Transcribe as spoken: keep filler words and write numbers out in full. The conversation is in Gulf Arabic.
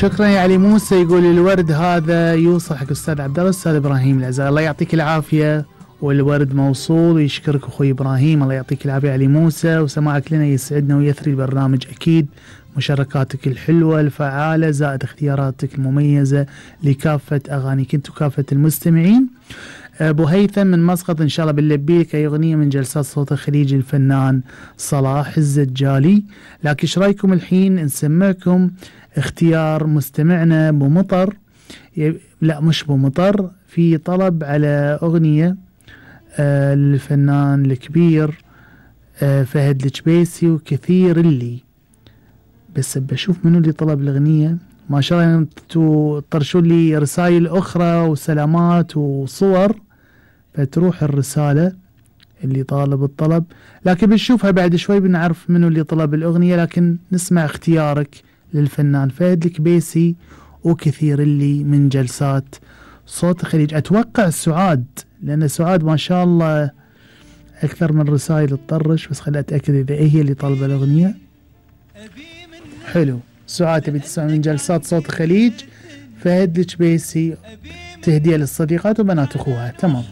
شكرا يا علي موسى. يقول الورد هذا يوصل حق استاذ عبد الله استاذ ابراهيم العزاء، الله يعطيك العافيه. والورد موصول ويشكرك اخوي ابراهيم، الله يعطيك العافيه علي موسى. وسماعك لنا يسعدنا ويثري البرنامج اكيد، مشاركاتك الحلوه الفعاله زائد اختياراتك المميزه لكافه اغانيك انت وكافه المستمعين. ابو هيثم من مسقط ان شاء الله بنلبي لك اي اغنيه من جلسات صوت الخليج الفنان صلاح الزجالي. لكن ايش رايكم الحين نسمعكم اختيار مستمعنا ابو مطر، لا مش ابو مطر، في طلب على اغنيه آه للفنان الكبير آه فهد الجبيسي وكثير اللي، بس بشوف منو اللي طلب الاغنيه. ما شاء الله انتوا طرشوا لي رسائل اخرى وسلامات وصور، فتروح الرساله اللي طالب الطلب، لكن بنشوفها بعد شوي بنعرف منو اللي طلب الاغنيه. لكن نسمع اختيارك للفنان فهد الكبيسي وكثير اللي من جلسات صوت الخليج. اتوقع سعاد، لان سعاد ما شاء الله اكثر من رسائل تطرش، بس خليني اتاكد اذا هي اللي طالبه الاغنيه. حلو، سعاد تبي تسمع من جلسات صوت الخليج فهد الكبيسي، تهديه للصديقات وبنات اخوها. تمام.